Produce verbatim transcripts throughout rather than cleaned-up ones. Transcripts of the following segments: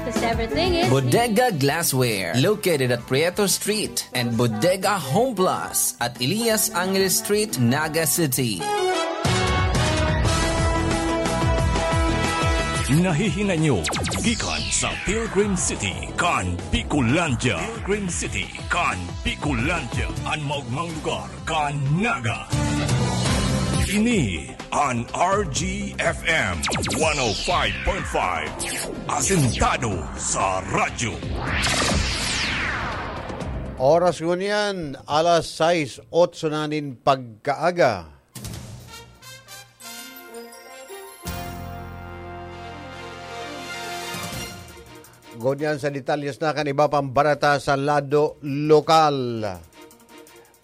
'Cause everything is Bodega Glassware, located at Prieto Street, and Bodega Home Plus at Elias Angeles Street, Naga City. Nahihinay nyo gikan sa Pilgrim City kan Bicolandia. Pilgrim City kan Bicolandia, an maogmang lugar kan Naga. Ini an R G F M one oh five point five, asentado sa radyo. Oras ngunyan, alas sais otso na nin pagkaaga. Ngunyan sa detalyes na kan iba pang bareta sa lado lokal.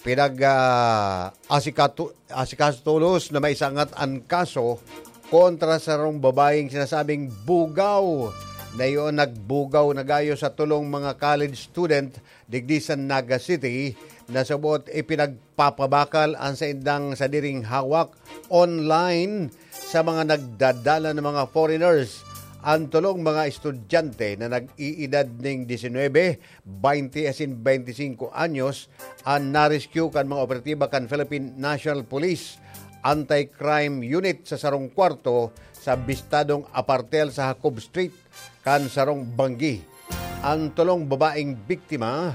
Pinag, ah, asikatu-, asikaso tolos na maisangat an kaso kontra sa sarong babaeng sinasabing bugaw na iyon nagbugaw na gayo sa tolong mga college student digdi sa Naga City, na subot ipinagpapabakal an saindang sadiring hawak online sa mga nagdadala na mga foreigners. An tolong mga estudyante na nag-iidad ning disinwebe, baynte asin baynte singko anyos an na-rescue kan mga operatiba kan Philippine National Police Anti-Crime Unit sa sarong kwarto sa bistadong apartel sa Jacob Street kan sarong banggi. An tolong babaeng biktima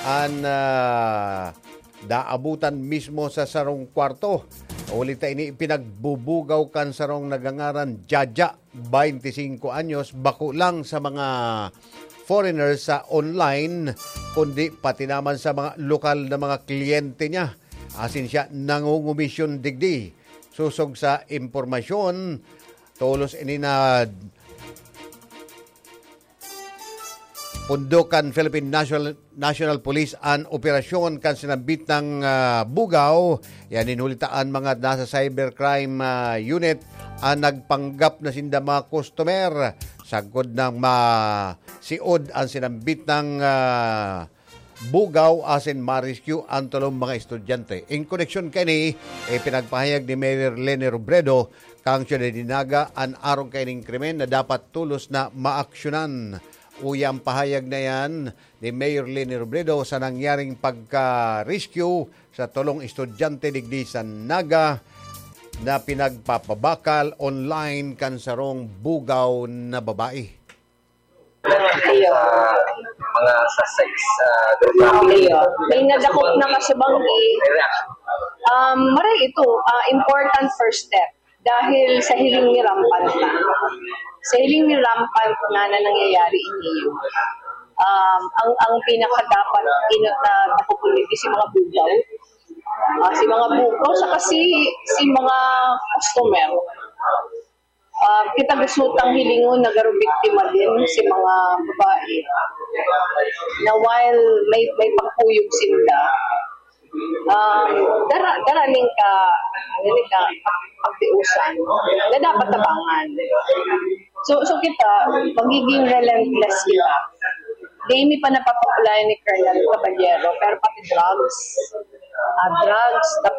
an, ah, naabutan mismo sa sarong kwarto. Huli ta ini, pinagbubugaw kan sarong nagangaran Jaja, baynte singko anyos, bako lang sa mga foreigners sa online, kundi pati naman sa mga lokal na mga kliyente niya. Asin siya nangungomisyon digdi. Sosog sa impormasyon, tolos ini na pundok kan Philippine National, National Police an operasyon kan sinambit na, ah, bugaw. Yan, huli ta an mga nasa cybercrime, ah, unit an nagpanggap na sinda mga customer. Sagkod nang masiod an sinambit na, ah, bugaw asin ma-rescue an tolong mga estudyante. In koneksyon kaini, ipinagpahayag ni Mayor Leni Robredo kan syudad nin Naga an arog kaining krimen na dapat tolos na maaksyonan. Uya an pahayag na iyan ni Mayor Leni Robredo sa nangyaring pagka-rescue sa tolong estudyante digdi sa Naga na pinagpapabakal online kan sarong bugaw na babae. Iyo. Mga suspects, ah, Iyo. May nadakop na kasubanggi. May reaction. Um, maray ito, ah, important first step. Dahil sa hiling ni rampant na. Sa hiling ni rampant na na nangyayari ini. Um, ang, ang pinakadapat inot na dakopon ni si mga bugaw. Ah, si mga bugaw, saka si, si mga customer. Ah, kita gusto tang hilingon na garo biktima din si mga babae na while may, may pagkuyog sinda, um, dara, dara ning ka, ano ni ka, pagtiusan na dapat tabangan. So, so kita, magiging relentless kita. Di mi pa napapakulayan ni Colonel Caballero, pero pati drugs, ah, drugs, tapos